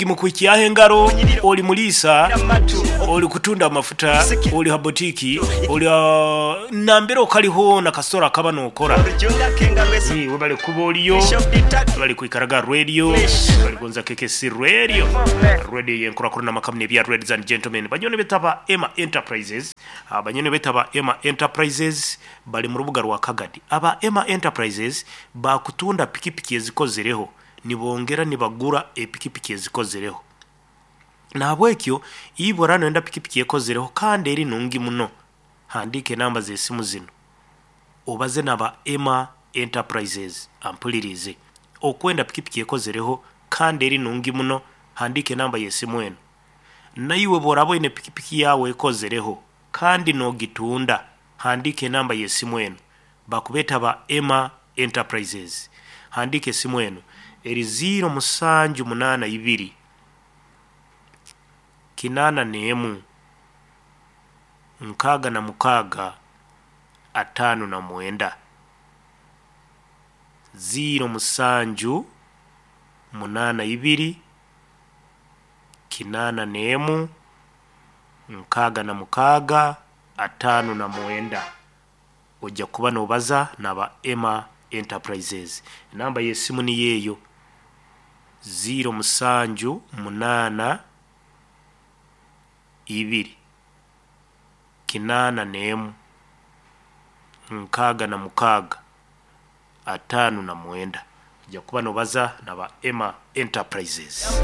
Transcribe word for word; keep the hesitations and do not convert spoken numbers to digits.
Mukuhikyaho engaro, oli muriisa, oli kutunda amafuta, oli ha botiki, oli nambere okali hoona kasita orakaba nookora. Webale kuba oriyo, webale kwikaraga aha reediyo, webale kugonza K K C Radio, reediyo ey'enkurakurana amaka muno ebya Ladies and Gentlemen. Banywani baitu aba Emma Enterprises, banywani baitu aba Emma Enterprises bari mu rubuga rwa Kagadi. Aba Emma Enterprises baakutunda pikipiki ezikozireho, nibongyera nibagura epikipiki ezikozireho. Nahabwekyo iwe oraba noyenda pikipiki ekozireho kandi eri nungi muno, handiika enamba z'esimu zinu obaze n'aba Emma Enterprises ampuririize. Okwenda pikipiki ekozireho kandi eri nungi muno, handiika enamba y'esimu enu. Naiwe obu oraaba oine pikipiki yaawe ekozireho kandi noogitunda, handiika enamba y'esimu enu. Bakubeeta aba Emma Enterprises. Handiika esimu enu, eri ziiro musanju munaana ibiri, kinaana n'emu, nkaaga na mukaaga, ataano na mwenda. Ziiro musanju munaana ibiri, kinaana n'emu, nkaaga na mukaaga, ataano na mwenda. Oija kuba noobaza n'aba Emma Enterprises. Enamba y'esimu niyo eyo, ziiro musanju munaana ibiri, kinaana n'emu, nkaaga na mukaaga, ataano na mwenda. Oija kuba noobaza n'aba Emma Enterprises.